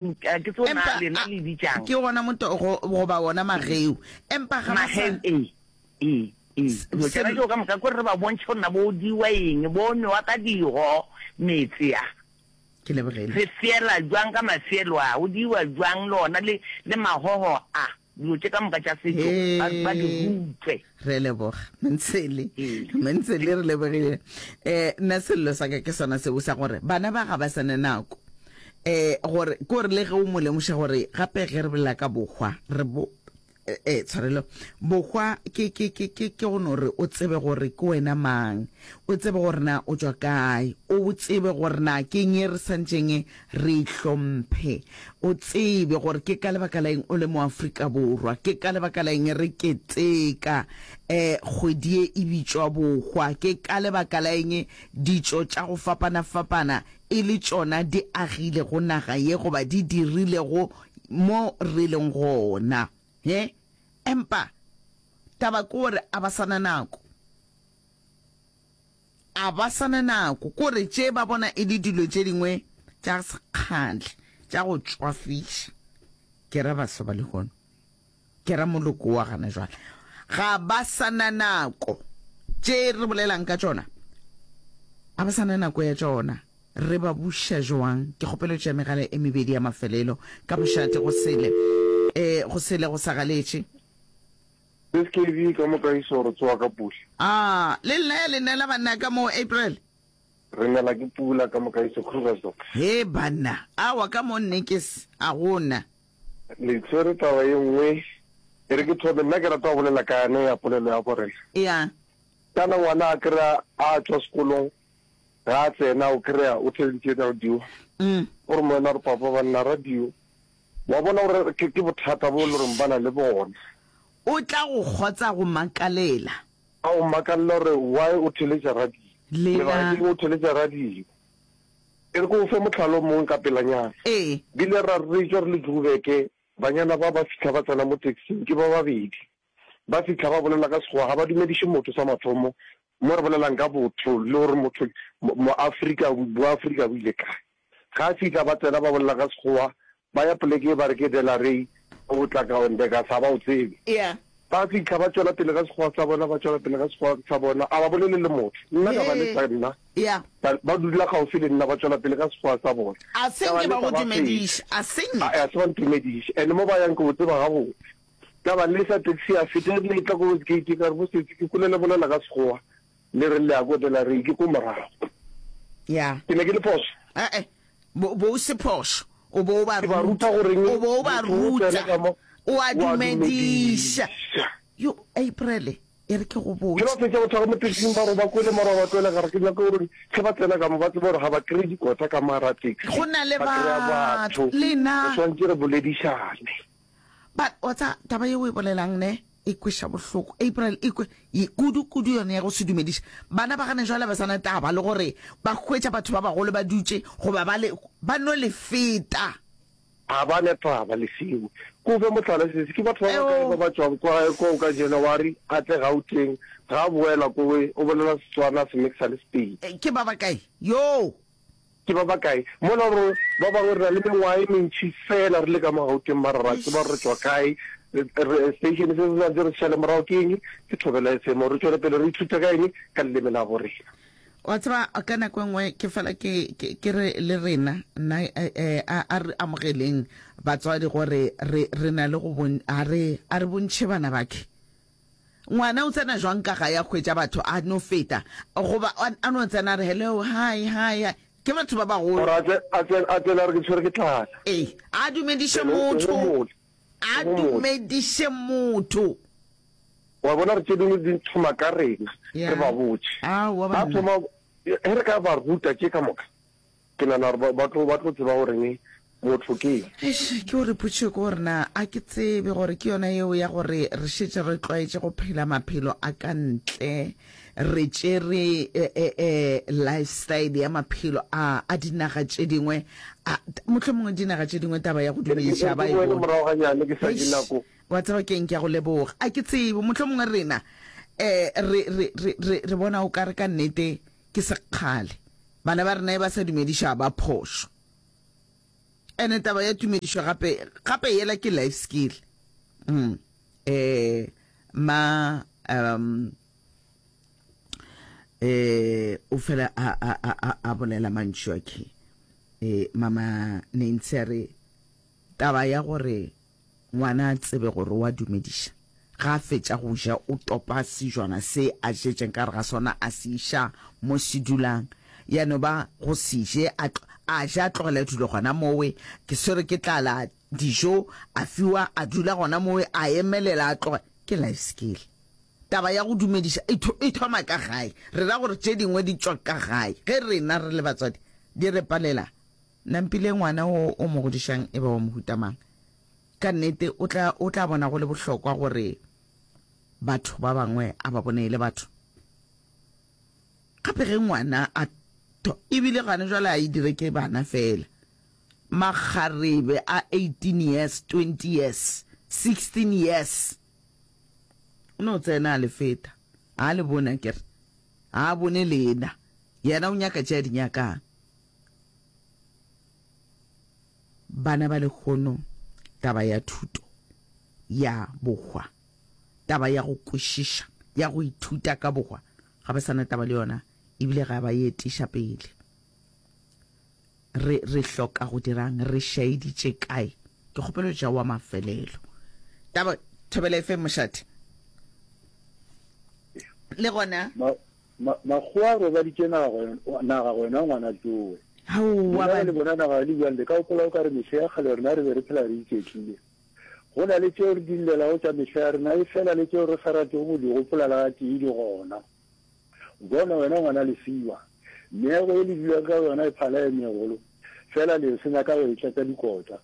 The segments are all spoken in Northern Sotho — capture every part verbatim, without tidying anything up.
Ke tseo na Empa lena a le bitsang. Ke wona motogo goba wona mageu. Empa ga ba sa. Mageu, ee, ee, ee. Dilo tšona tšeo ka moka ke gore re ba bontšhe gore na bo diwa eng, bo nwewa ka digo meetse a. Ke lebogile. Re fiela jwang ka mafielo a, go diwa jwang le ona le, le magogo a. Dilo tše ka moka tša setšo ba, ba di Hee, rutwe. re a leboga Mantshele, Ee. Mantshele re lebogile. Eh, nna sello sa ka ke sona seo sa gore bana ba ga ba sa na nako. Eh, gore ke gore le ge o mo lemoša gore gape ge re bolela ka bohwa re bo eh, eh, tshwarelo bohwa ke ke ke ke ke go no re o tsebe gore ke wena mang, o tsebe gore na o tšwa kae, o tsebe gore na ke eng e re santšeng re e hlomphe, o tsebe gore ke ka lebaka la eng o le mo Afrika Borwa, ke ka lebaka la eng re keteka eh kgwedi ye e bitšwa bohwa, ke ka lebaka la eng ditšo tša go fapana-fapana e le tšona di agilego naga ye goba di dirilego mo re leng gona. He? Empa taba ke gore a ba sa na nako. A ba sa na nako. Ke gore tše ba bona e le dilo tše dingwe tša sekgale, tša go tšwafiša. Ke ra baswa ba lehono. Ke ra moloko wa gana jwale. Ga ba sa na nako. Tše re bolelang ka tšona, a ba sa na nako ya tšona. Re ba buša jwang? Ke kgopelo tša megala e mebedi ya mafelelo ka mošate go sele, eh, go sele go sa galetše. S K B ka moka iso re tsoga ka pula. Ah, le nna ya le nela banna ka mo April. Re nela ke pula ka moka iso Krugersdorp. He banna, awa ka mo nnekes a gona. Le tshwere taba ye nngwe, e re ke thome, nna ke rata go bolela ka yane ya polelo ya borena. Ya. Kana ngwana a kry-a a tšwa sekolong, ga a tsena o kry-a o theleditše radio. Mm. O re moena re papa banna radio. Wa bona gore ke, ke bothata bo e le goreng ba na le bona. O tla go kgotsa go makalela. A o makalela gore why o theletša radio. Lela. Lebaka ke eng o theletša radio. E re ke o fe mohlala o mongwe ka pelanyana. Ee. Bile ra re tšwa re le Joburg, banyana ba ba fihla ba tsena mo taxing, ke ba babedi. Ba fihla ba bolela ka Sekgowa, ga ba dumediše motho sa mathomo, mo re bolelang ka botho le gore motho Moafrika, Boafrika bo ile kae. Ga fihla ba tsena ba bolela ka Sekgowa, ba ya poleke e ba re ke Delarey, o tla ka Ondeka sa ba o tsebe. Yeah. Ba fihla ba tšwela pele ka Sekgowa sa bona, ba tšwela pele ka Sekgowa sa bona, a ba bolele le motho. Nna ka ba lesa nna. Yeah. Ba, ba dula gaufi le nna, ba tšwela pele ka Sekgowa sa bona. A se Ka ba nke ba lesa go ba feta. dumediša, a se nke. A, a se ba ntumediše. And mo ba yang ke o tseba gabotse. Ka ba lesa taxi ya feta, e rile e tla ko gate ka re bo sesi ke kwele le bolela ka Sekgowa, le re le ya ko Delarey, ke ko morago. Yeah. Ke ne ke le phošo. Eh-eh. Bo, bo o se phošo. O bo o ba Ke ba ruta. ruta goreng O bo o ba motho o ruta. tsena ka mo, O a o a dumediša. dumediša. Yo, April, e re ke go Ke botše. ba fetša go thaba mo taxing ba re ba kwele mara ba tloele gare ke nyaka gore ge ba tsena ka mo ba tsebe gore ga ba kry-e dikota ka mo gare ga taxi. Go na le Ba kry-a batho. batho. Le nna. Re swanetše re boledišane. But wa tseba taba ye o e bolelang ne e kweša bohloko April e kwe ye kudu kudu yone ya go se dumediše. Bana ba gane jwale ba sa na taba le gore ba hwetša batho ba bagolo ba dutše goba ba le ba no le feta. Ga ba na taba le seo. Ke o fe mohlala sesi, ke batho ba bakae ba ba tšwang kwa koo ka January a tle Gauteng, ga a boela kowe o bolela Setswana a se mixa le Sepedi. Ke ba bakae? Yoo! Ke ba bakae? Mola gore ba bangwe re na le mengwaga e mentši fela re le ka mo Gauteng mara ra tseba gore re tšwa kae. Re, station se se santse re se šale morago ke eng? Ke Thobela F M. Re tšwele pele re ithute ka eng? Ka leleme la borena. Wa tseba, ka nako e nngwe ke fela ke, ke, ke re le rena, nna, eh, eh, a, a re amogeleng batswadi gore re, re na le go bon, a re, a re bontšhe bana bakhe. Ngwana o tsena jwang ka gae a hwetša batho a no feta, goba a, a no tsena a re hello, hi, hi, hi. Ke batho ba bagolo. Gore a tse, a tse, a tsene a re ke tshwere ke tlala. Ee, a dumediše Ene o, o motho. homole. A O homole. dumediše motho. Wa bona re tše dingwe di thoma ka rena, Ya. re ba botše. Aowa Ba banna. thoma, ge re ka ba ruta tše ka moka, ke nagana gore ba, ba tlo, ba tlo tseba goreng motho ke eng. Eish, ke gore potšišo ke gore na a ke tsebe gore ke yona yeo ya gore re šetše re tlwaetše go phela maphelo a ka ntle, re tšere eh, eh, eh, lifestyle ya maphelo a, a dinaga tše dingwe, a, mohlomongwe dinaga tše dingwe taba ya go E re ke, e dumediša re ba ke e boele bone. morago ganyane ke sa je Eish, nako. wa tseba ke'ng, ke a go leboga. A ke tsebe, mohlomongwe rena eh, re, re, re, re, re bona o ka re ka nnete ke sekgale. Bana ba rena e ba sa dumediša ba phošo. Ene taba ya tumedišo gape gape yela ke life skill. Mm. Eh ma um eh o fela a a a a bolela mantšu a ke. Eh mama Nancy a re taba ya gore ngwana a tsebe gore wa dumediša ga a fetša go ja o topa sejwana se a jetšeng ka gare ga sona a se iša mo se dulang ya no ba go se je a a ja a tlogela dilo gona mowe ke swere ke tlala dijo a fiwa a dula gona mowe a emelela a tloga ke life skill taba ya go dumediša e, e thoma ka gae re ra gore tše dingwe di tšwa ka gae ge rena re le batswadi di re palela nampile ngwana o o mo godišang e ba wa mohuta mang ka nnete o tla o tla bona go le bohlokwa gore batho ba bangwe a ba bone e le batho gape ge ngwana a ebile gane jwale a e dire ke bana fela makgarebe a eighteen years twenty years sixteen years o no tsena a le feta a le bone akere a bone lena yena o nyaka tše a di nyakang bana ba lehono taba ya thuto ya bohwa taba ya go kwešiša ya go ithuta ka bohwa ga ba sana taba le yona ebile ga ba e etiša pele re re hloka go dirang re šaeditše kae ke kgopelo tša wa mafelelo taba Thobela F M mošate le gona makgowa a robaditše naga wena ngwana tsowe aowa lena le bona naga le bjang le ka gopola o ka re mehla ya kgale rena re be re phela re iketlile go na le tšeo re di llelago tša mehla ya rena e fela le tšeo re sa ratego go di gopola le gatee di gona bona wena ngwana lesiwa meago e le dulang ka yona e phala e megolo fela le senya ka go e tlatša dikota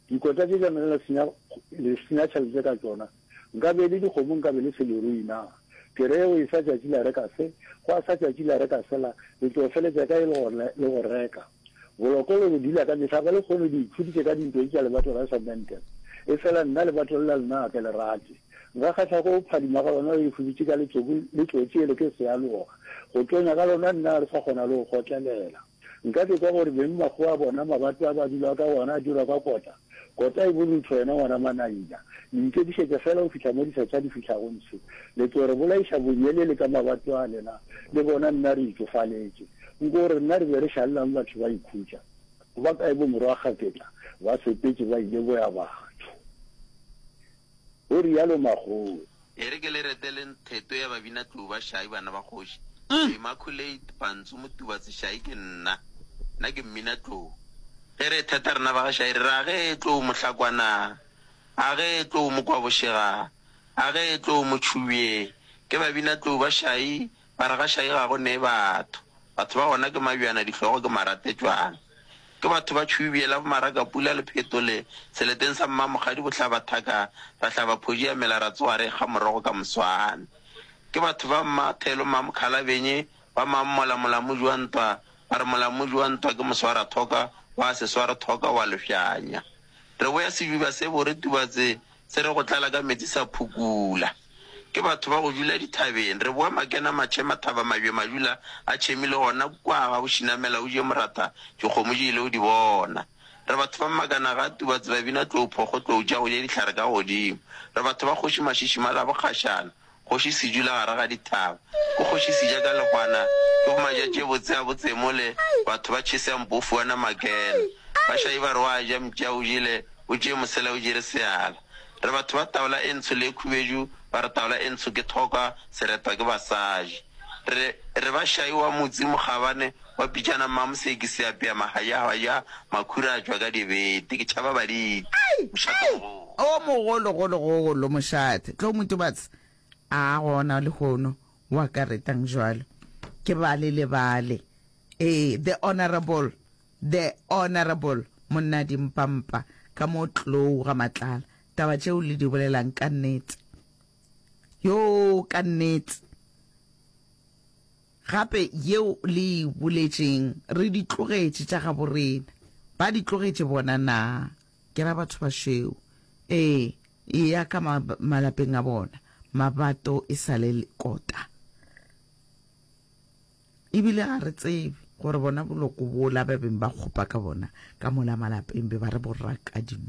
dikota tše tša le senya le senya tšhelete ka tšona nka be le dikgomo nka be le se lerui na ke re go isa tšatši la reka se go a sa tšatši la reka sela le tlo feletša ka e le go le go reka boloko le go dula ka mehla ba le kgone di ikhuditše ka dintlo tša lebato la semente e fela nna lebato le la lena ga ke le rate nka kgahla go phadima ga lona le ikhuditše ka letsoku le tlotše le ke sealoga go tonya ka lona nna re sa kgona le go kgotlelela nka ke kwa gore beng makgowa a bona mabato a ba dula ka gona a dirwa ka kota kota e borutho wena ngwana manaina le ikemišetša fela go fihla mo dithatša di fihlago ntshe le tlo re bolaiša bonyelele ka mabato a lena le bona nna re itšofaletše nko gore nna re be re šalelang batho ba ikhutša ba kae bo morwa kgaketla ba sepetše ba ile boya batho o rialo makgowa E re ke le reteleng theto ya babinatlou ba Shai bana ba kgoši. Immaculate Pantsu Motubatse Shai ke nna. Nna ke mminatlou. Ge re theta rena ba ga Shai re re a ge tlou Mohlakwana, a ge tlou Mokwabošega, a ge tlou Motšhubye. Ke babinatlou ba Shai, ba re ga Shai ga go nee batho. Batho ba gona ke mabjana dihlogo ke maratetšwana. Ke batho ba Tšhubye la boMarakapula le Phetole seleteng sa Mmamokgadi bohlaba thaka ra hlaba phoji ya mela ra tsoga re ekga morogo ka moswane. Ke batho ba Mmathelo Mmamokgalabenye ba Mammola molamoji wa ntwa ba re molamoji wa ntwa ke moswarathoka wa se sware thoka wa lefšanya. Re boya sejuba se bore Tubatse se re go tlala ka metsi sa phukula. Ke batho ba go dula dithabeng re boa makena matšhe mathaba mabje majula a tšhemile gona kwa ga bošinamela o je moratha dikgomo di ile o di bona. Re batho ba makana ga Tubatse ba bina tlou phokgo tlou tša go ja dihlare ka godimo. Re batho ba kgoši Mašišima la bokgašana kgoši sejula gare ga dithaba. Ke kgoši seja ka lehwana ke bomaja tše botse a botsemole batho ba tšhese a mpofu wa namakena. Bašai ba re wa ja mpša o jele o tšee mosela o jere seala. Re batho ba taola e ntsho le e khubedu ba re taola e ntsho ke thoka seretwa ke basadi. Re re ba šai wa motse mokgabane wa pitšana mmamoseki seapea mahajahwaja makhura a tšwa ka dibete ke tšhaba baditi. Mošate mogolo. O mogolo golo golo mošate tlo Motubatse a gona lehono wa ka retang jwalo ke bale le bale ee the honorable the honorable monna dimpampa ka mo tlou ga matlala taba tšeo le di bolelang ka nnete yo ka nnete gape yeo le e boletšeng re di tlogetše tša gabo rena ba di tlogetše bona na ke ra batho ba šweu ee e ya ka malapeng a bona mabato e sa le kota ebile ga re tsebe Gore bona boloko bola ba beng ba kgopa ka bona ka mola malapeng be ba re bo raka dino.